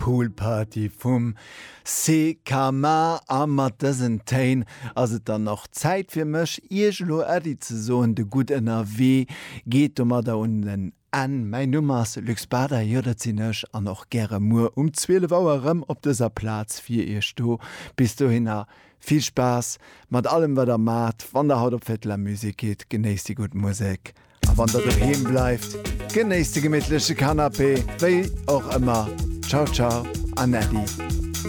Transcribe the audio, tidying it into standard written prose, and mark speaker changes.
Speaker 1: Pool Party vum CKMA. A mat dësen Téin ass et dann och Zäit fir mech, Iech elo Äddi ze soen. De Gutt Ënnerwee geet domadder un en Enn. Mäin Numm ass Luc Bader, jo dat sinn ech, an och gäre muer um 12 Auer erëm op dëser Plaz fir Iech do. Bis dohinner vill Spaass mat allem wat der maacht. Wann der haut op Fête de la Musique gitt, genéisst déi gutt Musek. A wann der doheem bleift, genéisst de gemittleche Canapé, wéi och ëmmer. Ciao ciao an Äddi.